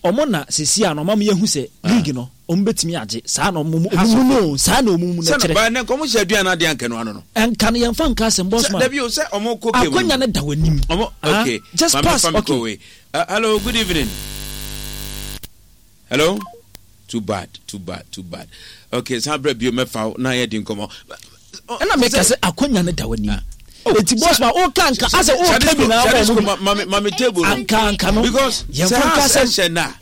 Ɔmo na sisi a na ɔma mo yɛhu sɛ league no ɔmo bɛtumi agye saa na ɔmo mu no saa na ɔmo mu no kyerɛ. Sɛ na nka ɔmo hyɛ aduane adeɛ anka no ano no. Nka no yɛnfa nka asɛm boss man. Dabi o sɛ ɔmo kɔ game no. Akwanya no da w'anim. Ɔmo okay. Just pass okay. Hello, good evening. Hello. Too bad, too bad, too bad. Okay, san brɛ bio mɛfa wo na yɛdi nkɔmmɔ. Ɛna meka sɛ akwanya no da w'anim. Ah. Oh, Eti boss ma o ka nka asɛ o ka bi na abɔ ɔmo bi. Mami table no. Anka anka no. Because sɛ ha hyɛ na.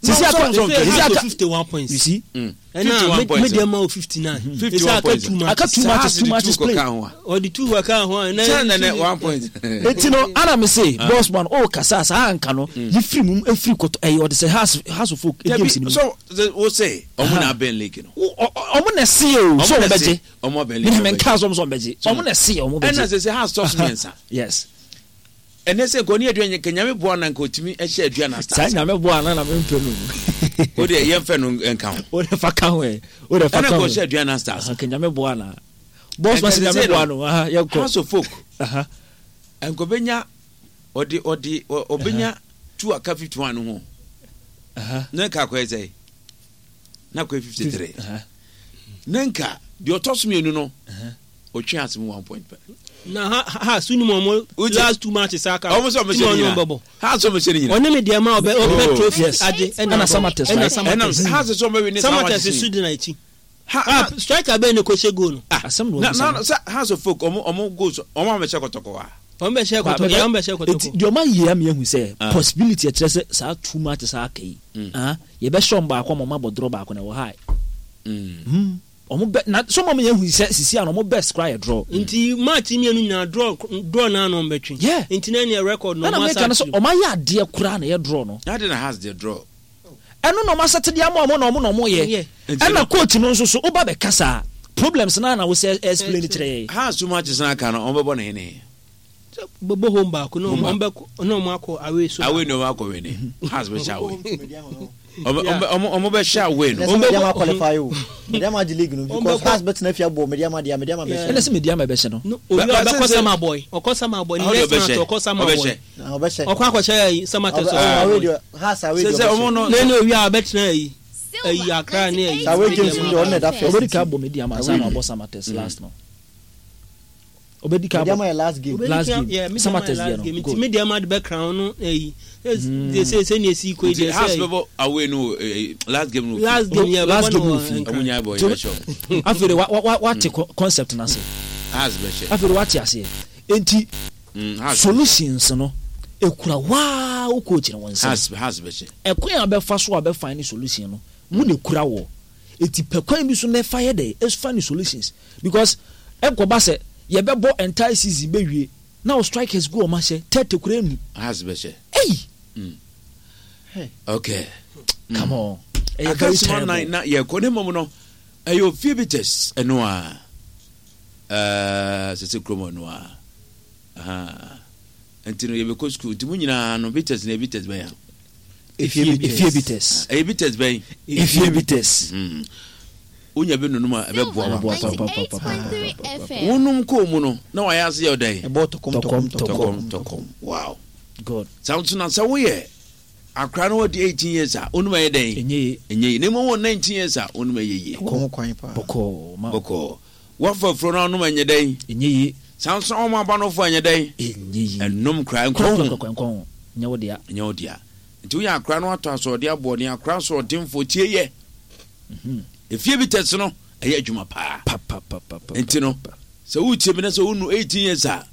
Sisi aka sisi aka 51 points. You see? Ɛna me deɛ ma o 59. 51 points. Aka two matches, two matches play. Ɔde two aka ho a. Sɛ na ne 1 point. Eti no ana me se boss man o kasa saa anka no yi firi mu efiri kɔtɔ ɛyɛ ɔde sɛ house house of folk games ni mu. So wo se ɔmo na abɛn league no. Ɔmo na ɛse o so ɔmo bɛgye. Ɔmo abɛn league. Me na menka sɛ ɔmo sɛ ɔmo bɛgye. Ɔmo na ɛse ɔmo bɛgye. Ɛna sɛ sɛ house tɔ so mmiɛnsa. Yes. Ɛnɛ sɛ nka ɔne aduan nka nyame boa na nka ɔtumi hyɛ aduan na stars. Saa nyame boa na na mempɛ no. O deɛ yɛmfɛ no nka ho. O de fa ka ho ɛ. O de fa ka ho. Ɛna nka ɔhyɛ aduan na stars. Nka nyame boa na. Boss ma sɛ nyame boa no. Aha yɛnkɔ. House of Folk. Aha. Nka ɔbɛnya ɔde ɔde ɔbɛnya two aka 51 no ho. Aha. Na nka akɔyɛ sɛ na akɔyɛ 53. Aha. Na nka deɛ ɔtɔ so mmienu no. Otwe ase mu one point pɛ. Na ha ha so nim ɔmo last two matches aka. Ɔmo sɛ ɔmo hyɛ ne nyina. Ha sɛ ɔmo hyɛ ne nyina. Ɔne me deɛ ma ɔbɛ ɔbɛ oh, trophy agye ɛna ɛna Samatex ɛna Samatex. Ɛna ha sɛ ɔmo bɛ win Samatex so di na akyi. Ha ah, striker bɛn ne ko hyɛ goal no. Ah asɛm na na na sɛ House of Folk ɔmo ɔmo goals ɔmo amɛhyɛ kɔtɔkɔ wa. Ɔmo bɛ hyɛ kɔtɔkɔ ɔmo bɛ hyɛ kɔtɔkɔ. Eti deɛ ɔmo ayɛ ama ehu sɛ ah. possibility ɛkyerɛ sɛ saa two matches aka yi. Mm. Ah yɛbɛhyɛ ɔmo baako ama ɔmo abɔ draw baako na ɛwɔ high. Mm. Ɔmo bɛ na so mɔm yɛn hu sɛ sisi ano ɔmo best koraa yɛ draw. Nti match mmienu nyinaa draw draw naa na ɔmo bɛ twe. Yeah. Nti na ɛneɛ record no ɔmo asa akyiri. Ɛna meka no sɛ ɔmo ayɛ adeɛ koraa na ɛyɛ draw no. Na adi na has deɛ draw. Ɛno na ɔmo asɛte de ama ɔmo na ɔmo na ɔmo yɛ. Ɛna coach no nso so woba bɛ kasa a problems naa na wosɛ explain kyerɛ yɛn. Has two matches na aka no ɔmo bɛbɔ no hene? Bɛbɔ home baako na ɔmo bɛ na ɔmo akɔ away so. Away na ɔmo akɔ win ne. Hearts bɛ hyɛ away. Ɔmo ɔmo bɛ hyɛ away no. Ɔmo Medeama qualify o. Medeama agye league no because Hearts bɛ tena fie abɔ Medeama deɛ Medeama bɛ hyɛ. Ɛna sɛ Medeama bɛ hyɛ no. Obi a ɔbɛkɔ sama boy ɔkɔ sama boy ne next match ɔkɔ sama boy. Ɔbɛhyɛ. Ɔkɔ akɔhyɛ ayi sama tɛ sɛ away deɛ Hearts away deɛ ɔbɛhyɛ. Na ɛna owi a ɔbɛtena ayi ayi Accra ne ayi. Away games deɛ ɔno na ɛda first. Ɔbɛdi ka abɔ Medeama ansa na wabɔ Samatex last no. Obedi ka Medeama yɛ last game. Last game. Yeah, Samatex deɛ no. Nti Medeama de bɛ crown no eyi. De se se ne esi koi de se. House bɛbɔ away no last game no. Last game yeah, last game no fi. Ɔmo nya bɔ yɛ sure. Afei de wa wa wa te concept na se. House bɛ hyɛ. Afei de wa te aseɛ. Enti solutions no ekura waa wo coach no wɔn nsam. House house bɛ hyɛ. Ɛkwan a bɛfa so a bɛ find solution no wo na ekura wɔ. Eti pɛ kwan bi so na ɛfa yɛ dɛ ɛfa ne solutions. Because ɛnkɔba sɛ yɛbɛbɔ entire season bɛwie na wo strikers gu wɔn ahyɛ 30 koraa nnu. Hearts bɛhyɛ. Ei! Mm. Okay. Mm. Come on. Ɛyɛ very terrible. Na na yɛkɔ ne mmom no ɛyɛ ofie bitters ɛno a ɛɛ sese kurom ɛno a nti no yɛbɛkɔ sukuu nti mu nyinaa no bitters na bitters bɛn a. Efie bitters. Ɛyɛ bitters bɛn. Efie bitters. Hmm. Wonya bi nonom a ɛbɛboa wa. Wonom kɔɔ mu no na wayɛ ase yɛ ɔdɛn. Ɛbɔ tɔkɔm tɔkɔm tɔkɔm tɔkɔm. Wow. God. Saa nso na sɛ woyɛ akora na wadi 18 years a wonom ɛyɛ dɛn? Ɛnyɛ yie. Ɛnyɛ yie. Na mmom wɔ 19 years a wonom ɛyɛ yie. Kɔn kwan paa. Bɔkɔɔ ma. Bɔkɔɔ. Wafa afuro no anom ɛnyɛ dɛn? Ɛnyɛ yie. Saa nso na wɔn aba no fo ɛnyɛ dɛn? Ɛnyɛ yie. Ɛnom koraa nkɔ ho. Korakora nkɔ ho. Nyɛ wo dea. Ɛnyɛ wo dea. Nti woyɛ akora na watɔ asoɔden aboɔden akora asoɔdenfoɔ tie yɛ. Mhm. Efie bi tɛse no ɛyɛ adwuma paa. Nti no sɛ wotie mi na sɛ wonu 18 years a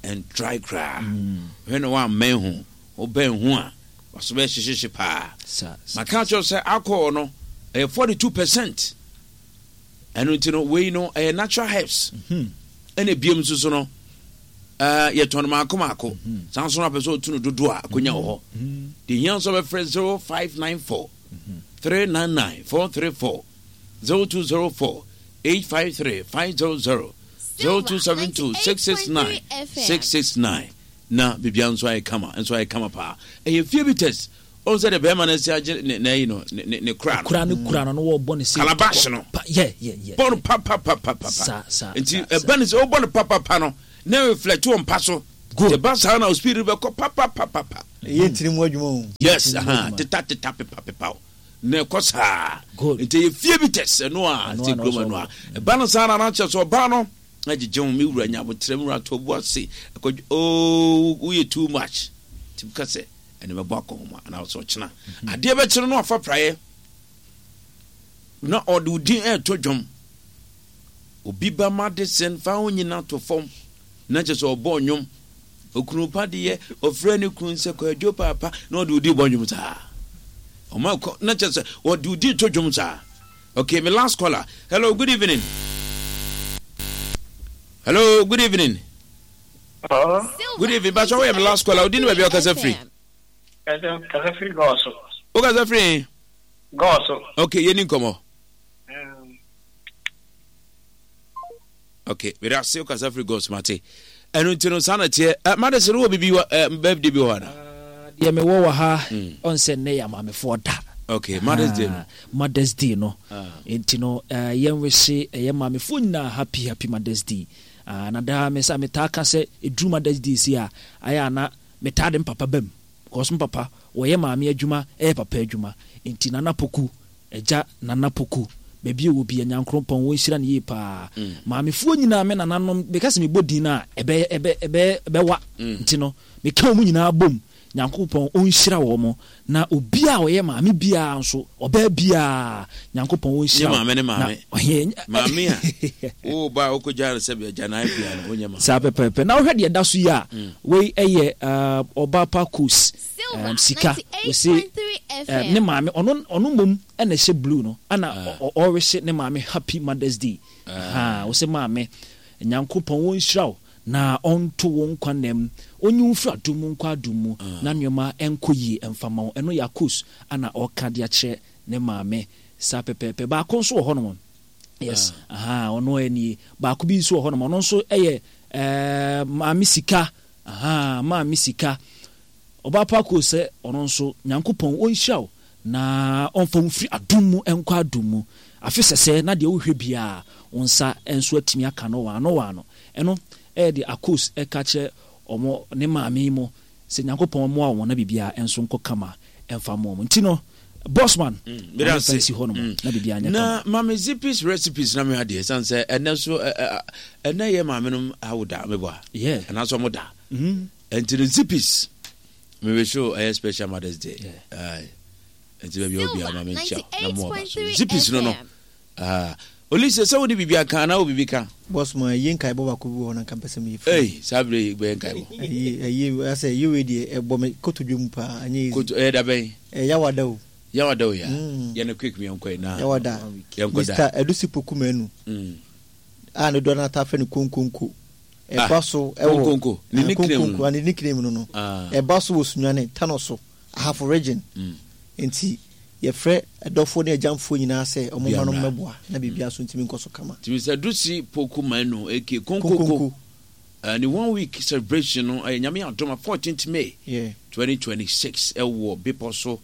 ɛntrae koraa. Mm. Hwɛ na woammɛn ho. Wobɛn ho a waso bɛyɛ hyehyehye paa. Maka akyerɛ sɛ alcohol no ɛyɛ 42%. Ɛno nti no wei no ɛyɛ natural herbs mhm. ɛna ebiem nso so no ɛɛ yɛtɔn no maako maako mhm. saa nso no apɛ sɛ ɔtu no dodoɔ a akonya wɔ hɔ mhm. deɛ hia nso bɛfrɛ 0594 399 434 0204 853 500 0272 669 669 na biribia nso ayɛ kama nso ayɛ kama paa ɛyɛ fie bi test Ɔhu sɛ deɛ bɛrima no asi agye ne n'ayi no ne ne ne kora no. Kura no kura no na wɔbɔ ne se. Calabash no. Pa yɛ yɛ yɛ. Bɔ no papapapapa. Sa sa. Nti ɛba ne sɛ ɔbɔ no papapa no na reflect wɔ mpa so. Good. Ɛba saa na o speed bɛkɔ papapapapa. Ɛyɛ ntini mu adwuma o. Yes, aha, teta teta pepa pepa o. Na ɛkɔ saa. Nti ɛyɛ fie bi tɛs ɛno a sɛ kurom ɛno a. Ɛba no saa na na kyerɛ sɛ ɔbaa no agyegye ho me wura nya abotrɛ me wura to abu ase ɛkɔ oo woyɛ too much. Nti ka sɛ ɛne mɛbɔ akɔnhoma anaa sɛ ɔkyena. Adeɛ bɛkyerɛ no afa praeɛ na ɔde wo din ɛɛto dwom. Obi ba ma de sɛn fa ho nyina to fam na kyerɛ sɛ ɔbɔ nnwom. Okunu pa deɛ ɔfrɛ ne kunu sɛ kwadwo paapa na ɔde odi bɔ nnwom saa. Ɔma kɔ na kyerɛ sɛ ɔde odi to dwom saa. Okay, my last caller. Hello, good evening. Hello, good evening. Good evening. Pastor, woyɛ my last caller. Odi ne baabi a ɔkasa firi. Kasa firi Gɔɔso. Wokasa firi? Gɔɔso. Okay, yɛni nkɔmmɔ. Ok, mede ase wokasa firi gos mate. Ɛno nti no saa na teɛ. Eh, made sɛ no wɔ biribi wɔ eh, birthday bi wɔ hɔ ana? Ah, deɛ mewɔ wɔ ha mm. ɔn sɛ nnɛ yɛ amaamefoɔ da. Okay, Mother's Day no. Ah, Mother's Day no. Ah. Nti no uh, yɛnwehye ɛyɛ maamefoɔ nyinaa happy happy Mother's Day. Uh, na daa me sɛ metaa ka sɛ ɛduru Mother's Day si a ayɛ ana metaa de mpapa bam. Because mpapa wɔyɛ maame adwuma ɛyɛ papa adwuma. Nti Nana Poku Agya Nana Poku, baabi a ɔwɔ biara, Nyankoropɔn wɔnhyira no yie paa. Maamefoɔ nyinaa, me nananom, meka sɛ mebɔ din no a, ɛbɛyɛ, ɛbɛ, ɛbɛyɛ, ɛbɛwa. Nti no, meka wɔn nyinaa bom. Nyankopɔn ɔnhyira wɔn. Na obiara a ɔyɛ maame biara nso, ɔbaa biara, Nyankopɔn ɔnhyira Nyɛ wo. maame ne Na, maame. ɔhe, Maame a, wo ba a wokɔgyaa no sɛ agyanan bea no, wonyɛ maame. Saa pɛpɛɛpɛ. Na wohwɛ deɛ ɛda so yi a, wei yɛ, uh, ɔbaa pa Kos. Silver um, sika ɔse 98.3 um, ne FM. maame ɔno ɔno mmom ɛna ɛhyɛ blue no ɛna ɔrehye ne maame happy mother's day ha ɔse maame nyankopɔn wɔnhyira wo na ɔnto wo nkwa nam ɔnyi wo mfiri adom mu nkɔ adom mu na nneɛma ɛnkɔ yie ɛmfa ma wo ɛno yɛ akos ana ɔka de akyerɛ ne maame saa pɛpɛɛpɛ baako nso wɔ hɔnom yes aha ɔno ɛnie baako bi nso wɔ hɔnom ɔno nso ɛyɛ ɛɛ maame sika Ahaa maame sika. Ɔbaa pa koo sɛ ɔno nso Nyankopɔn ɔnhyira wo na ɔmfa wo mfiri adom mu nkɔ adom mu. Afe sɛsɛɛ na deɛ wohwɛ biara wo nsa nso atumi aka no waano waano. Ɛno ɛyɛ deɛ Akos ɛka kyerɛ ɔmo ne maame yi mo sɛ Nyankopɔn mmoa wɔn na biribiara nso nkɔ kama ɛmfa mma wɔn. Nti no Bossman Mm, ma memfa nsi hɔ nom na biribiara nyɛ na kama. Mame Zippy's recipes na me adeɛ san sɛ ɛnɛ nso ɛnɛ yɛ maame nom awoda mebɔ a Yeah. anaasɛ ɔmo da ɛnti no Zippy's mebe show ɛyɛ special Mother's Day Yeah. Aye. ɛnti baabi a Silver obiara ma menkyia na mo aba so 98.3 Zippy's no no FM. Ah, Olise sɛ wode biribi aka anaa wɔ biribi ka Boss man, ɛyɛ nkaebɔ baako bi wɔ hɔ na nka mpɛ sɛ meyɛ firi. Ei, saa berɛ yi bɛyɛ nkaebɔ. Ɛyɛ ɛyɛ asɛ ɛyɛ wei deɛ ɛbɔ me kotodwe mu paa ɛnyɛ easy. Koto ɛyɛ da bɛn? Ɛyɛ yawada o. Yawada o ya. Mm. Yɛ no quick mi yɛnkɔ yi na. Yawada. Yɛnkɔ da. Mr. Adusi Poku Manu. Mm. A ne dodoɔ no ata frɛ no Konkonko. Ah, Ɛba so ɛwɔ Konkonko. Ne nickname no. Konkonko, ne nickname no no. Ah. Ɛba so wɔ Sunyani, Tano so. Ahafo Region nti yɛfrɛ adɔfoɔ ne agyamfoɔ nyinaa sɛ wɔn mma no mmɛboa na biribiara nso ntumi nkɔ so kama. Nti Mister Dusi Poku Manu aka Konkoko ne one week celebration no ɛyɛ Nyame adom a 14th May 2026 ɛwɔ bepɔ so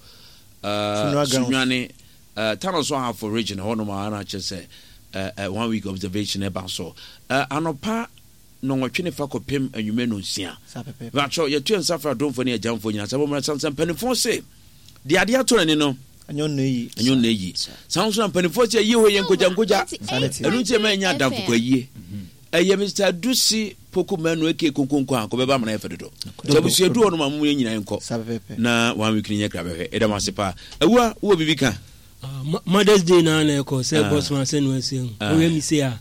Sunyani Tano so Ahafo Region hɔ nom a na kyerɛ sɛ one week observation ɛba so anɔpa nnɔnwɔtwe ne fa kɔpem anwummerɛ nnɔnsia. Mepakyɛw, yɛto yɛn nsa frɛ adomfoɔ ne agyamfoɔ nyinaa sɛ wɔmmra ɛsiane sɛ mpanimfoɔ se, deɛ adeɛ atɔ n'ani no, ɛnyɛ ɔno na ɛyi. Ɛnyɛ ɔno na ɛyi. Saa nso na mpanimfoɔ se, ayie hɔ yɛ nkogya nkogya. Ɛno nti ɛma yɛnya adamfo kɔ ayie. Ɛyɛ Mr. Adusi Poku Manu aka Konkonko a kɔbɛba amana yɛ fɛ dodo. Sɛ abusua du hɔ nom a mo yɛn nyinaa nkɔ na one week no nyɛ kra bɛhwɛ. Ɛda mo ase paa. Awua, wowɔ biribi ka? Mother's Day na na ɛkɔ sɛ bɔsoma sɛ no ɛsɛ hu. Ɔyɛ mi se a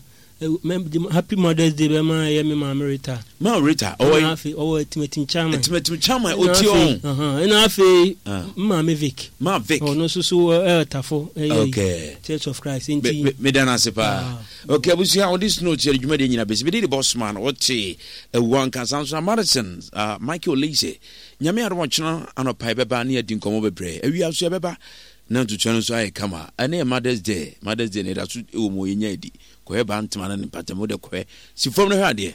Happy Mother's Day bɛma ɛyɛ me maame Rita. Ma Rita ɔwɔ yi. Afei ɔwɔ Atimatim Chairman. Atimatim Chairman ɔtie ɔn. Ɛna afei maame Vic. Ma Vic. Ɔno nso so ɛyɛ tafo ɛyɛ okay. Church of Christ nti. Me da n'ase paa. Okay abusua on this note yɛde dwumadie nyina bɛsi. Mede de boss man ɔte awua nkasa nso na Madison uh, Michael Leise. Nyame adom ɔkyena anɔpa yɛbɛba ne yɛadi nkɔmmɔ bebree. Awia nso yɛbɛba na ntutua no nso ayɛ kama. Ɛne yɛ Mother's Day. Mother's Day na ɛda so wɔ mu yɛnya adi. Kɔhwɛ baa ntoma no ne mpatamu de kɔhwɛ. Si fam no hwɛ adeɛ.